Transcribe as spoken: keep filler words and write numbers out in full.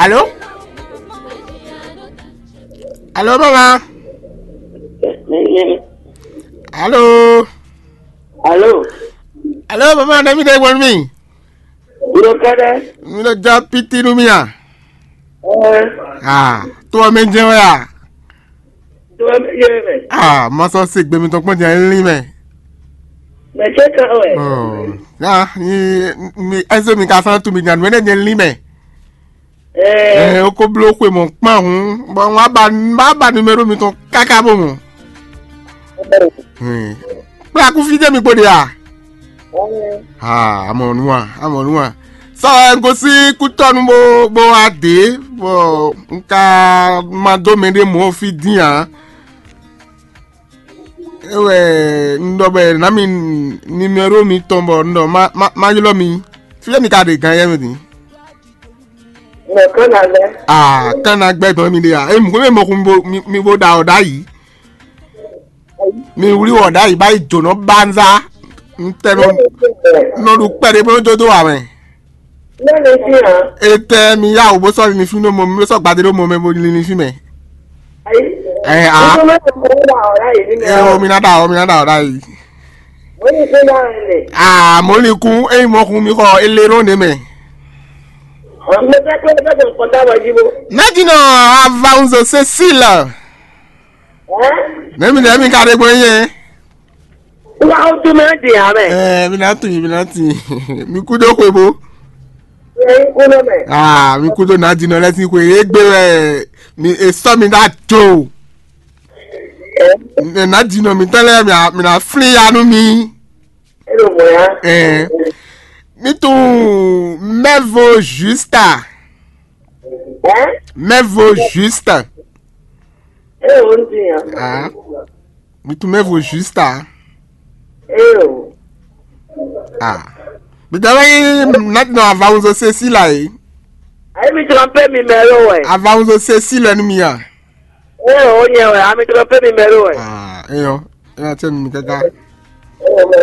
Alo? Alo, mama? Alo? Alo? Alo, mama, nɛ́ mi ɖe gbɔn nú mì? Wúlò kɛ́ɖɛ́. Mi ɖo jɔ piti nú mì a? Ɛɛ. Ah, to ɔ́ mɛ jɛ́n wɛ a? To ɔ́ mɛ jɛ́n wɛ. Ah, ma sɔ́ se gbe mitɔn kpɔ́n jɛ́n lín mɛ. Mɛ cé kan wɛ? Oh, ya, mi, mi, ɛsɛ mi ka fán tu mi nya nǔ ɛnɛ jɛ́n lín mɛ. Ɛɛ. Ɛ, o ko bló xwe mɔ̌ kpán hǔn, bɔ un wá ba, un wá ba numéro mitɔn káká bó mɔ. Ɛɛ. Kplá kú fí jẹ́ mi kpo ɖe a? Aa, amɔ nu a, amɔ nu a. Sɔ ɛ, un gosín kútɔ́nu bó, bó wá dě, bɔ un ka ma dó mɛ ɖé mɔ̌ fí dín ǎ. É wɛ un ɖɔ bɔ è nǎ mi numéro mitɔn bɔ un ɖɔ má, má, má ylɔ́ mi. Fí mi ka ɖe gǎn yɛ mɛ din? Mɛ kán ná lɛ́. Ah, kán ná gbɛ dɔn mi ɖe a? É mú kó mɛ mɔkun mi bo, mi, mi bo ɖa ɔ́ ɖ'ayǐ. Mi wlí wɔ ɖ'ayǐ bá yi jǒnɔ banza. Un tɛ nɔ, nɔ ɖu kpɛɖé bó nɔ jó dó wa mɛ. Lé mi fí hàn. Etɛ mi yá wò bó sɔ́ linlin fí nú mɔ, mi sɔ́ gbadé ɖó mɔ mɛ bó linlin fí mɛ. Ayi. Ɛ a. Nítorí mo wá wà ọ̀rá yìí nínú. Ẹ o, mi ná ɖa o, mi ná ɖa o ɖ'ayǐ. Mo ní fún náà rẹ̀. Ah, mo lin kún, eyi mɔ kun mi xɔ elérò ne mɛ. Mo fẹ́ pé ó fẹ́ kó nǹkan táwọn jí bó. Nádìnà Avanzo Cécile. Ẹ́? Nẹ́mi nẹ́mi ka ɖe gbɔn yẹn. Wá ó tún mẹ́ dì á mẹ́. Ẹ, mi ná tún yìí, mi ná tún yìí. Mi kú dó xwe bó. Ẹ kú ló mẹ́. Ah, mi kú dó Nádìnà lẹ́sìn xwe. Égbé wɛ mi è sɔ́ mi ná jo. Ẹ? Nádìnà mi tán lẹ́yìn mi à- mi ná flín ya nú mi. Ẹ ló mọ̀ ya. Ẹ. Mi tún mẹ́vo Justa. Ẹ? Mẹ́vo Justa. Ẹ ò ń dì yàn. Ah. Mi tún mɛvo Justa. Eo. Ah. Mi tún mɛvo Justa. Ayi mi tromper numéro wɛ. Avanzo Cécile nú mi a? Eo, o nyɛ wɛ, a mi tromper numéro wɛ. Ah, eyo. Eya tse mi kaka. Eo, mɛ